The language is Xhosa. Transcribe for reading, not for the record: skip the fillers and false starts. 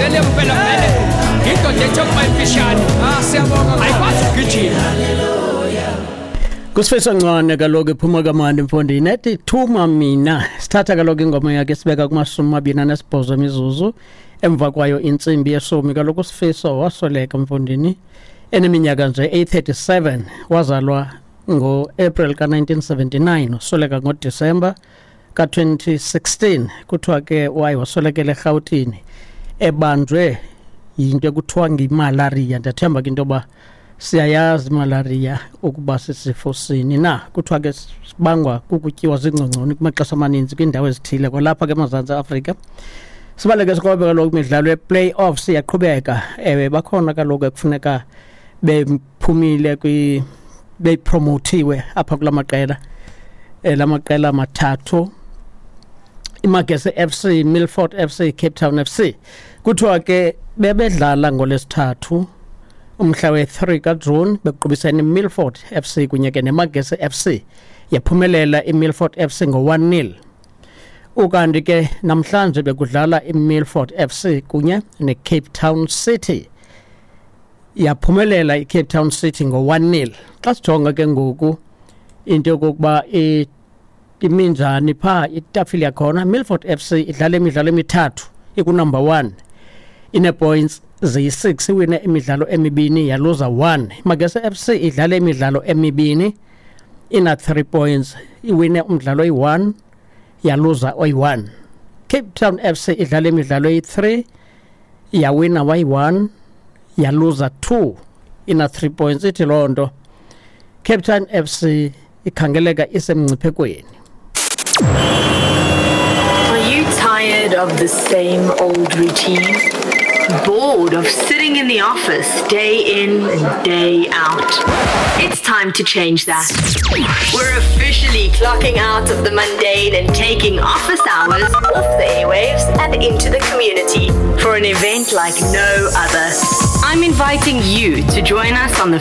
Vele mpela vele indoda ethe ukuba imfishane. Ah, siyabonga. Ayikwazi ukugijima. Kusifiso Ncwane kaloku iphuma kamandi mfondini ethi thuma mina. Sithatha kaloku ingoma yakhe sibeka kuma-28 imizuzu emva kwayo intsimbi yeshumi. Kaloku uSifiso wasweleka mfondini eneminyaka nje eyi-37, wazalwa ngo-April ka-1979, wasweleka ngoDisemba ka-2016. Kuthiwa ke waye waswelekela eRhawutini ebanjwe yinto ekuthiwa ngimalaria. Ndiyathemba ke into yoba siyayazi imalaria ukuba sisifo sini na. Kuthiwa ke sibangwa kukutyiwa ziingcongconi kumaxesha amaninzi kwiindawo ezithile kwalapha ke eMazantsi Afrika. Sibaleke sikrobe kaloku imidlalo ye-playoffs iyaqhubeka. Ewe, bakhona kaloku ekufuneka bephumile bepromotiwe apha kula maqela, la maqela mathathu, iMagesi FC, Milford FC, Cape Town FC. Kuthiwa ke bebedlala ngolwesithathu umhla we-3 kaJuni bequbisene iMilford FC kunye ke neMagesi FC, yaphumelela iMilford FC ngo-1-0. Ukanti ke namhlanje bekudlala iMilford FC kunye neCape Town City, yaphumelela iCape Town City ngo-1-0. Xa sijonga ke ngoku into yokokuba iminjani phaa itafile yakhona, Milford FC idlala imidlalo emithathu ikunumber 1, ine-points ziyi-6, iwine imidlalo emibini yaluza 1. Magesi FC idlala imidlalo emibini ina-3 points, iwine umdlalo oyi-1 yaluza oyi-1. Cape Town FC idlala imidlalo eyi-3, yawina wayi-1 yaluza 2, ina-3 points. Ithi loo nto Cape Town FC ikhangeleka isemngciphekweni. Are you tired of the same old routine? Bored of sitting in the office day in and day out? It's time to change that. We're officially clocking out of the mundane and taking office hours off the airwaves and into the community for an event like no other. I'm inviting you to join us on the